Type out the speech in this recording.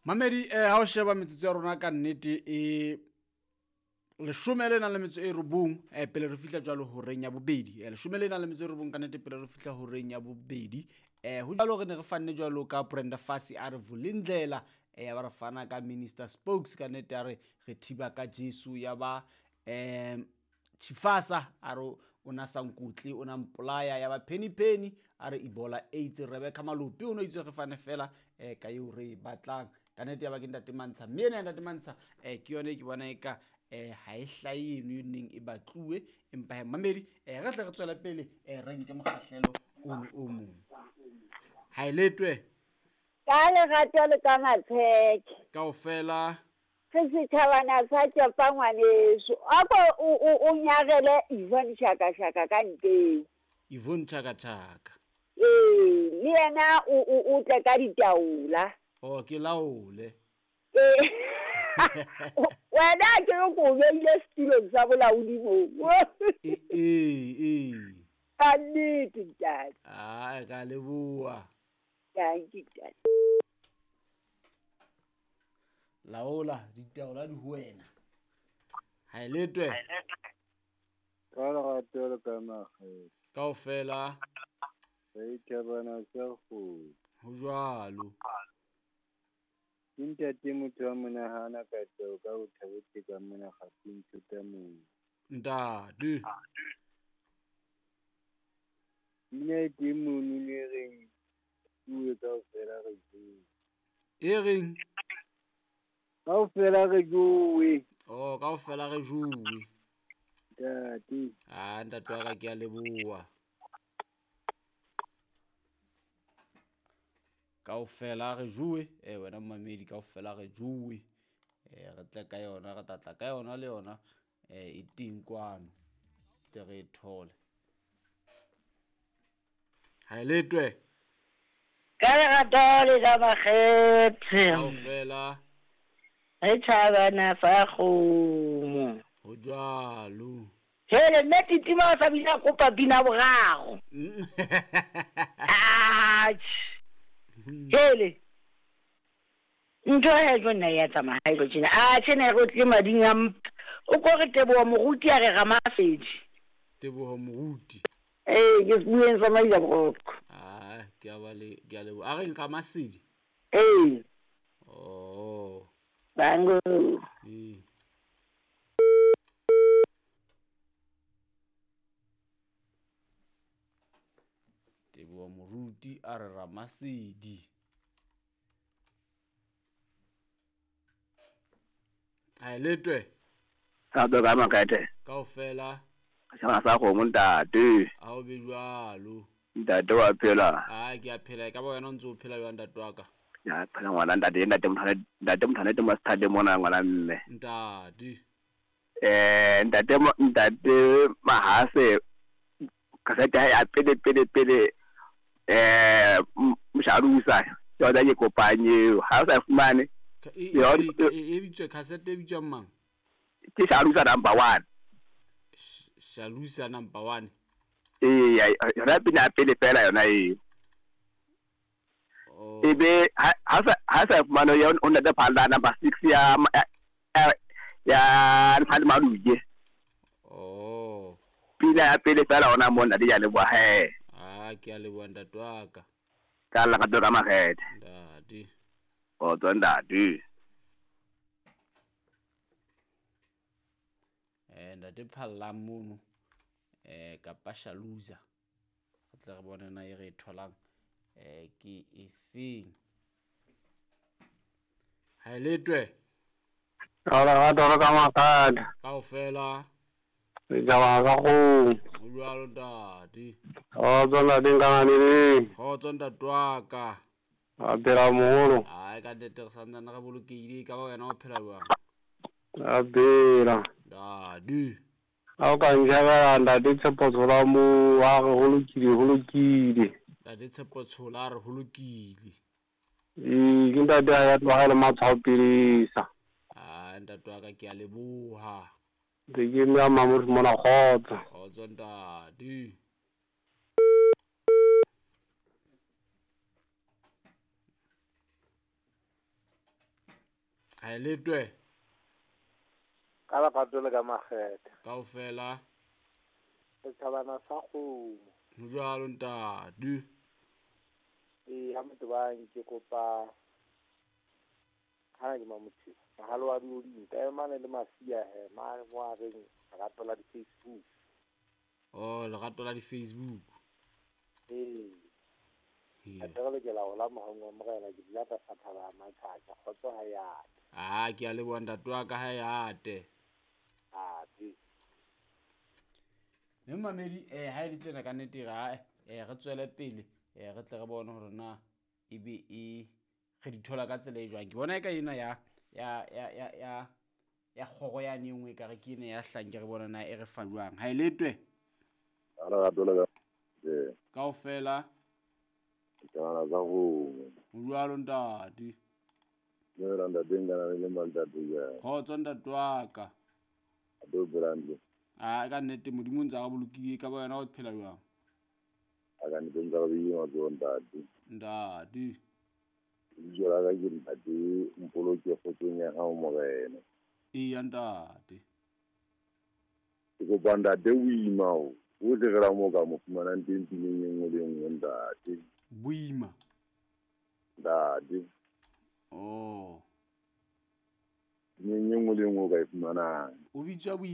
Mamedi ha o sheba metsotso ya rona ka nnete e leshome le nang le metso e robong pele re fihla jwalo horeng ya bobedi. Leshome le nang le metso e robong ka nnete pele re fihla horeng ya bobedi. Ho jwalo re ne re fanne jwalo ka Brenda Fassie a re Vulindlela, ya ba re fana ka Minister Spokes ka nnete a re re thiba ka Jesu, ya ba Chifasa a re o na sa nkutle o na mpolaya, ya ba Penny Penny a re Ebola AIDS. Rebecca Malope o no itse re fane fela ka eo re e batlang ka nnete, ya ba ke ntate Mantsha, mme ena ya ntate Mantsha ke yone ke bona eka ha e hlahe eno e neng e batluwe, empa he mamedi re tle re tswele pele re nke mokgahlelo ono o mong. Ha e letwe ka lerato le ka matsheke kaofela re setjhabana sa tšepa ngwaneso. Ako o nyarele Yvonne Chaka Chaka ka nteng. Yvonne Chaka Chaka. Ee, le yena o tle ka ditaola. Oh, ke laole. Ee. Wena ke re ko beile setulong sa bolaodi moo. Ee. Ka nnete ntate. Ah, ka leboha. Thank you, ntate. Laola ditaola di ho wena. Ha e letwe. Ka lerato le ka makgethe. Kaofela. Re ithabana sa kgomo. Ho jwalo. Ke ntate motho wa monahana ka teo ka ho thabetse ka mona kgaping thota mong. Ntate. Pina e teng mono ne reng bue kaofela re jowe. E reng? Kaofela re jowe. Oh, kaofela re jowe. Ntate. Ah, ntate wa ka ke a leboha. Kaofela re jowe. Wena mmamedi kaofela re jowe. Re tle ka yona, re tlatla ka yona le yona e teng kwano. Tle re e thole. Ha e letwe. Ka lerato le ka makgethe. Kaofela. Re tjhabana sa kgomo. Ho jwalo. Hele mme Titima o sa bina kopa pina boraro. Hele. Ntho he jo nna ya tsamaya ha e tlo tjena. A tjena re tle mading a mpa. O ko re Teboho Moruti a re Ramasedi. Teboho Moruti. Ee, ke sebueng sa Maila Boroko. Ah, ke a ba le ke a leboha. A reng Ramasedi? Ee. Oh. Bango. Ee. Teboho Moruti a re Ramasedi. Ha e letwe. Ka do ka makete. Kaofela. Sa sa kgomo ntate. A o be jwalo. Ntate wa phela. Ah, ke a phela. E ka ba wena o ntse o phela jwang ntate wa ka? Ya phela ngwana ntate, ntate mothane, ntate mothane te mastade mona ngwana mme. Ntate. Ntate ntate Mahase kasete ya pele pele pele msharusa. Ke yona ke kopanye ha o sa fumane. E bitswe cassette e bitswang mang? Ke Shalusa number 1. Shalusa number 1. Ee, yona pina pele fela yona eo. Oh. Ebe ha sa fumane yona o ntate Phalla number 6 ya ya Nfale Maluje. Oh. Pina ya pele fela ona mo ntate ya leboha he. Ah, ke a leboha ntate wa ka. Ka la ka ka makgethe. Ntate. O tswa ntate. Ntate Phalla mono kapa Shaluza. Re tle re bone na e re e tholang ke efeng. Ha e letwe. Ka lerato le ka makgethe. Kaofela. Setjhaba sa kgomo. Ho jwalo ntate. Kgotso ntate Nkanganeleng. Kgotso ntate wa ka. A phela moholo. Ai ka nnete re santsane re bolokehile, ka ba wena o phela jwang? A phela. Ntate. Ha o ka ntjhabela ntate Tshepo Tshola moo a re ho lokile, ho lokile. Ntate Tshepo Tshola a re ho lokile. Ee, ke ntate a ya tlohela matshwao pelesa. Ah, ntate wa ka ke a leboha. Ntse ke eme a Mamodi mona kgotso. Kgotso ntate. Ha e letwe. Ka lerato le ka makgethe. Kaofela. Setjhabana sa kgomo. Ho jwalo ntate. Ee, ha motho bang ke kopa hana ke mamotho. Mohalo wa dioding ka mane le masia he mane mo a reng lerato la di-Facebook. Oh, lerato la di-Facebook. Ee. A tle re lokela ho la mohong wa morena ke dula tlasa thaba ya Matjhatjha kgotso ha e ate. Ah, ke a leboha ntate wa ka ha e ate. Ate. Mme mamedi ha e le tjena ka nnete re re tswele pele re tle re bone hore na ebe e re di thola ka tsela e jwang. Ke bona e ka ena ya ya ya ya ya ya kgoro yane e nngwe ekare ke ena ya hlang ke re bona na e re fa jwang. Ha e letwe. Ha lerato le ka kaofela. Setjhabana sa kgomo. Ho jwalo ntate. Dumela ntate nkana le ntate kae? Kgotso ntate wa ka. Ntate o phela hantle? Ah, ka nnete Modimo o ntse a re bolokile ka ba wena o phela jwang? A ka nnete ntse re beile matsoho ntate. Ntate. Lebitso la ka ke ntate Mpoloke kgotsong ya hao morena. Eya ntate. Ke kopa ntate boima o tle re la mo ka mo fumanang teng pineng e nngwe le e nngwe ntate. Boima. Ntate. Oh. Pineng e nngwe le e nngwe o ka e fumanang. O bitswa boima.